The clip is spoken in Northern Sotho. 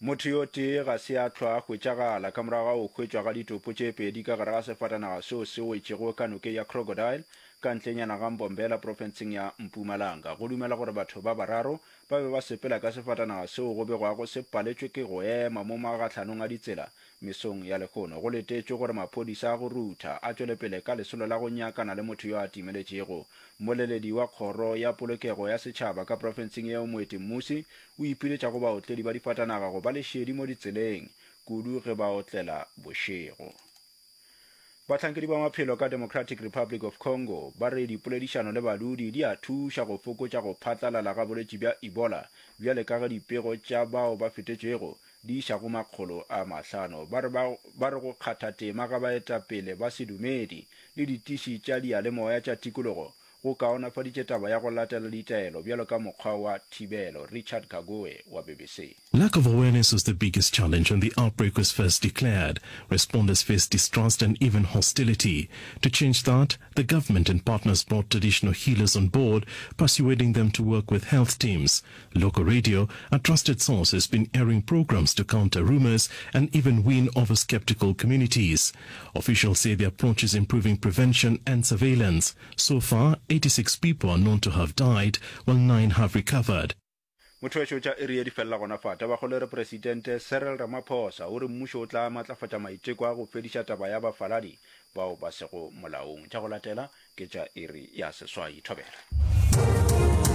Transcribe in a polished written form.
Motho yo tee ga se a hlwa a hwetšagala ka morago ga go hwetšwa ga ditopo tše pedi ka gare ga sefatanaga seo se wetšego ka nokeng ya Crocodile ka ntlenyana ga Mbombela profenseng ya Mpumalanga. Go dumelwa gore batho ba bararo ba be ba sepela ka sefatanaga seo go begwago se paletšwe ke go ema mo magahlanong a ditsela mesong ya lehono. Go letetšwe gore maphodisa a go rutha a tšwele pele ka lesolo la go nyakana le motho yo a timeletšego. Mmoleledi wa Kgoro ya Polokego ya Setšhaba ka profenseng yeo Moeti Mmusi o ipiletša go baotledi ba difatanaga go ba le šedi mo ditseleng, kudu ge ba otlela bošego. Bahlankedi ba maphelo ka Democratic Republic of Congo ba re dipoledišano le badudi di a thuša go fokotša go phatlalala ga bolwetši bja Ebola bjale ka ge dipego tša bao ba fetetšwego di iša go makgolo a mahlano. Ba re ba re go kgatha tema ga baetapele ba sedumedi le ditiši tša diyalemoya tša tikologo go kaonafaditše taba ya go latela ditaelo bjalo ka mokgwa wa thibelo. Richard Kagoe wa BBC. Lack of awareness was the biggest challenge when the outbreak was first declared. Responders faced distrust and even hostility. To change that, the government and partners brought traditional healers on board, persuading them to work with health teams. Local radio, a trusted source, has been airing programs to counter rumors and even win over skeptical communities. Officials say the approach is improving prevention and surveillance. So far, 86 people are known to have died, while nine have recovered. Motho tša iri ye di felela gona fa. Tabakgolo e re Presidente Cyril Ramaphosa o re mmušo o tla matlafatša maiteko a go fediša taba ya bafaladi bao ba sego molaong. Tša go latela ke tša iri ya seswai. Thobela.